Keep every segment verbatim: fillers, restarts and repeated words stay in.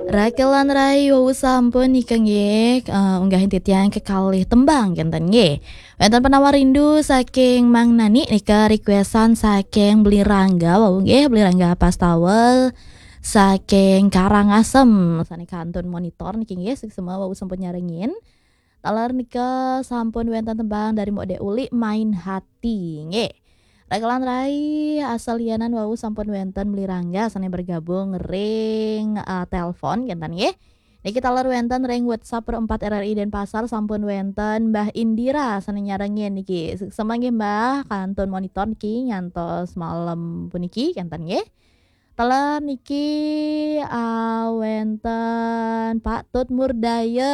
Rakelan rai wau sampun nika nggih, eh, unggahin titiang kekalih tembang kenten nggih. Wenten penawar rindu saking Mang Nani nika requestan saking Beli Rangga wau nggih, Beli Rangga Pastawel saking Karangasem. Sane kantun monitor niki nggih, suksma wau sampun nyarengin. Taler nika sampun wenten tembang dari Mok Dek Uli, Main Hati nggih. Rakelan rai asal lianan wau sampun wenten Beli Rangga sane bergabung ring, eh, telepon kenten nggih. Niki taler wenten ring WhatsApp Pro empat R R I Denpasar sampun wenten Mbah Indira sane nyarengin niki. Suksma nggih Mbah, kantun monitor niki ngantos malam puniki kenten nggih. Taler niki, ah, wenten Pak Tut Murdaya,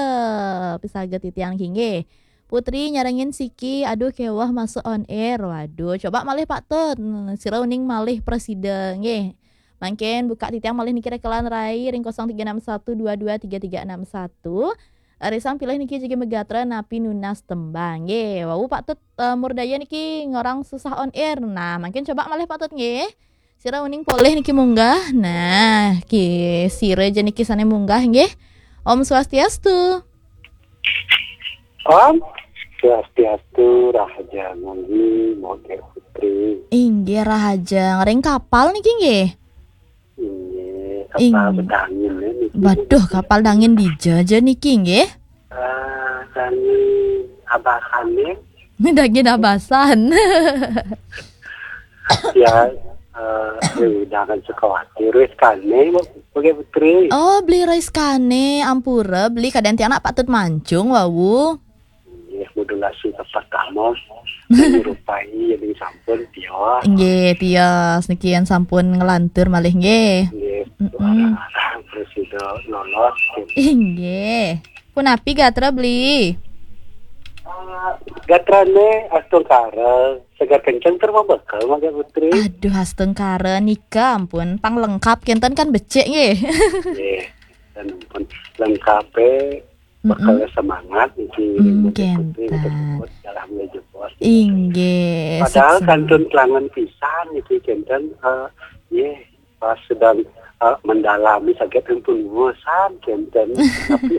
pisaget titiang niki nggih. Putri nyarengin siki, aduh keweh masuk on air. Waduh, coba malih Pak Tut. Hmm, sira uning malih presida nggih. Mangkin buka titiang malih niki rakelan rai ring kosong tiga enam satu dua dua tiga tiga enam satu. Risang pilih niki jagi megatra napi nunas tembang. Nggih, wau Pak Tut, eh, Murdaya niki ngorang susah on air. Nah, mangkin coba malih Pak Tut nggih. Sira uning polih niki munggah. Nah, ki sira ja niki sane munggah nggih. Om Swastiastu. Om Swastiastu, rahaja ngunggih, Mok Dek Putri. Inggih rahaja, ngering kapal niki nggih. Inggih, kapal Ing- bedangin ya niki. Waduh, kapal dangin dija ja niki nggih. Ah, dangin abasan ya. Dangin abasan. Ya, eh, ya udah kan suka khawatir wis kane, Mok Dek Putri. Oh, Beli Rois kane, ampura Beli, kadang tiang nak Pak Tut mancung wau. Nggih, modulasi tepat kamus. Menyerupai jadi sampun tios. Nggih, tios niki yen sampun ngelantur malih nggih. Nggih, Mm-mm. Suara arang terus sudah lolos. Inggih. Punapi gatra Beli? Ah, gatrane astungkara, segar kenceng tur membekel, Mok Dek Putri. Aduh, astungkara nika ampun, pang lengkap kenten kan becik nggih. Nggih, dan pun lengkape, Mm-mm. Bekel semangat niki, Hmm, Mok Dek Putri, kenten. Dalam jebos. Inggih, padahal suksma. Kantun kelangan pisan niki kenten, eh, nggih, pas sedang, eh, mendalami sakit pun bosan kenten. Tapi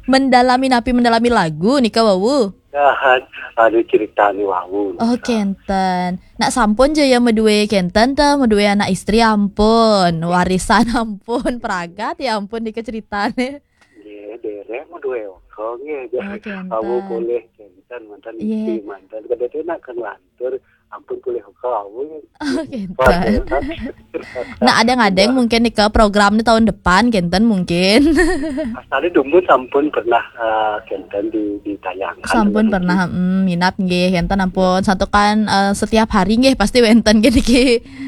mendalami napi, mendalami lagu nika wau? Dahan, anu ceritane wau. Oh, kenten. Nak sampun ja ya medue kenten ta, medue anak istri ampun, warisan ampun, pragat ya ampun nika ceritane. Nggih, derek medue wong nggih. Oh, kenten. Awu polih kenten mantan. Iya. Istri mantan. Kadene nak kan lantur ampun polih wong awu. Oh, kenten. Nah, ada ngadeng mungkin nika program ni tahun depan kenten mungkin. Asale dumun sampun pernah, eh, kenten di, ditayangkan. Sampun pernah, mm, minat nggih kenten ampun. Santukan, eh, setiap hari nggih pasti wenten nggih niki.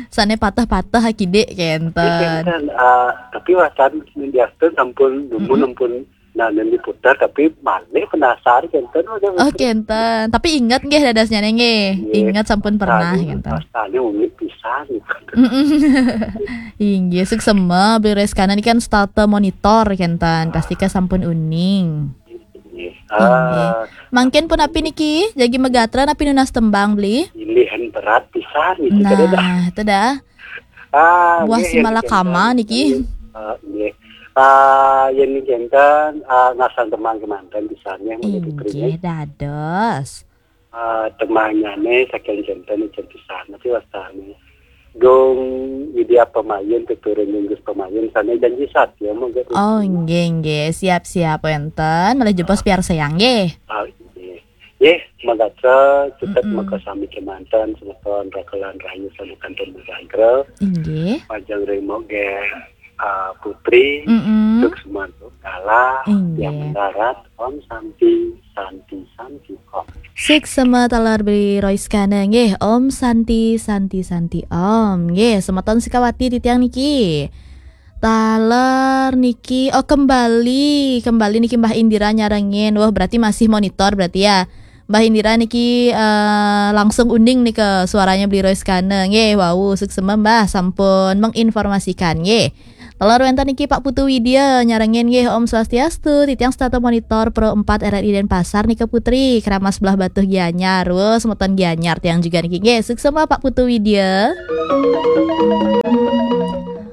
Sane patah-patah akidik kenten. Nggih, kenten, eh, tapi wacan diastun sampun dumun, mm-mm, ampun nah, nen diputar tapi malih penasaran kenten. Oh, kenten. Tapi inget nggih dadasnya nggih. Nggih. Inget sampun pernah kenten. Rasane unik pisan. Mm-mm. Inggih, suksma Beli Reskana niki kan starter monitor kenten. Pasti ka sampun uning. Nggih. Inggih. Ah. Mangkin punapi niki, jagi megatra napi nunas tembang Beli? Pilihan berat pisan niki. Nah, itu dah. Ah, buah nggih, si malakama niki. Ah, nggih. Ah, yen niki enten, ah, ngasang temang kemanten pisan nggih, Mok Dek Putri. Inggih, dados. Ah, temangane saking kenten ijen pisan, tapi wastane. Gung Widya Pemain, tuturun Yunggus Pemain, sane janji satya, Mok Dek Putri. Oh, nggih, nggih. Siap-siap wenten. Malih jebos piarsayang nggih. Ah, nggih. Nggih, megatra cutet, mm-mm, maka sami kemanten semeton rakelan rahayu sami kantun megatra. Inggih. Majeng ring Mok Dek, ah, Putri, mm-mm, Suksma Gala, inggih, yang mendarat, Om Santi, Santi, Santi, Om. Suksma taler Beli Roiskana nggih, Om Santi, Santi, Santi, Om. Nggih, semeton Sikawati titiang niki. Taler niki, oh, kembali, kembali niki Mbah Indira nyarengin. Wah, berarti masih monitor berarti ya. Mbah Indira niki, eh, langsung uning nika suaranya Beli Roiskana. Nggih, wau, suksema Mbah sampun menginformasikan nggih. Taler wenten niki Pak Putu Widya nyarengin nggih, Om Swastiastu, titiang setata monitor Pro empat R R I Denpasar nika Putri, Keramas Belah Batuh Gianyar. Wah, semeton Gianyar tiang juga niki nggih. Suksema Pak Putu Widya.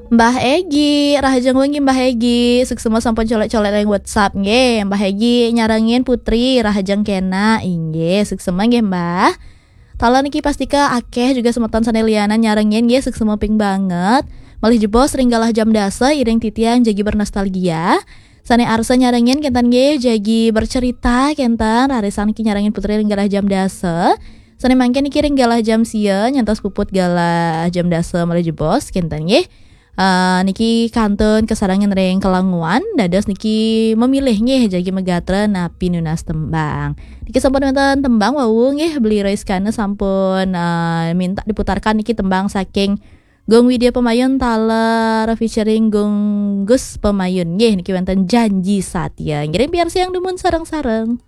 Mbah Egi, rahajeng wengi Mbah Egi. Suksma sampun colek-colek ring WhatsApp nggih. Mbah Egi nyarengin Putri, rahajeng kena. Inggih, suksma nggih, Mbah. Taler niki pastika akeh juga semeton sane lianan nyarengin nggih, suksma ping banget. Malih jebos ring galah jam dasa iring titiang jagi bernostalgia. Sane arsa nyarengin kenten nggih jagi bercerita kenten, rarisang niki nyarengin Putri ring galah jam dasa. Sane mangkin niki ring galah jam sia nyantos puput galah jam dasa malih jebos kenten nggih. Eh, niki kantun kasarengin ring kelanguan, dados niki memilih nggih jagi megatra napi nunas tembang. Niki sampun wenten tembang wau nggih, Beli Roiskana sampun eh, minta diputarkan niki tembang saking Gung Widya Pemayun taler featuring Gung Gus Pemayun nggih, niki wenten Janji Satya. Ngiring piarsayang dumun sareng-sareng.